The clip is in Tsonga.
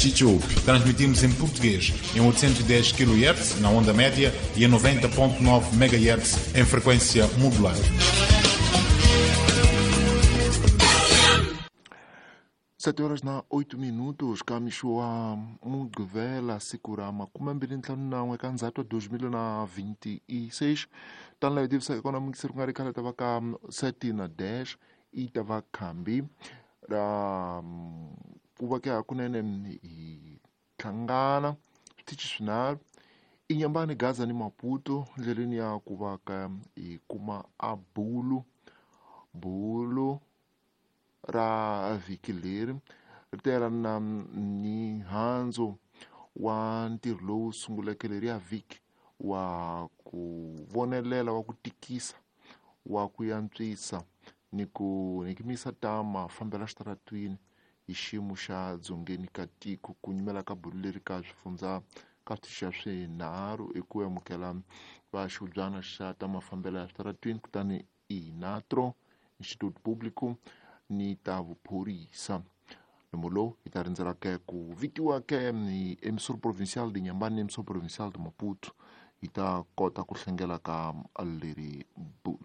Chichupe. Transmitimos em português em 810 kHz na onda média e em 90.9 MHz em frequência modulada. 7 horas na 8 minutos kamixo Mugqivela siku ra 25 eka Ndzhati wa 2026. Tani laha hi tivisaka kona muyingiseri ku nga ri khale ta va ka 7 na dash i ta va khambi ra ku va ke hakunene hi hlangana switichi swinharhu i Nyambani, Gaza ni Maputo ndleleni ya ku va ka hi kuma a bulu bulu ra vhiki leri ri ta yelana na mihandzu wa ntirho lowu sunguleke leriya vhiki wa ku vonelela wa ku tikisa wa ku antswisa ni ku hikimisa ta mafambelo exitaratwini hi xiyimo xa dzongeni ka tiko. Ku nyumela ka bulu leri ka swifundza ka switichi swinharhu i ku amukela va xihubyana xa ta mafambelo ya switaratwini, kutani Inatro Instituto Público ni ta vuphorisa. Nomo lowu hi ta rindzela ke ku vitiwa ke hi Emissor Provincial de Inhambane ni Emissor Provincial de Maputo hi ta kota ku hlengela ka leri bulu.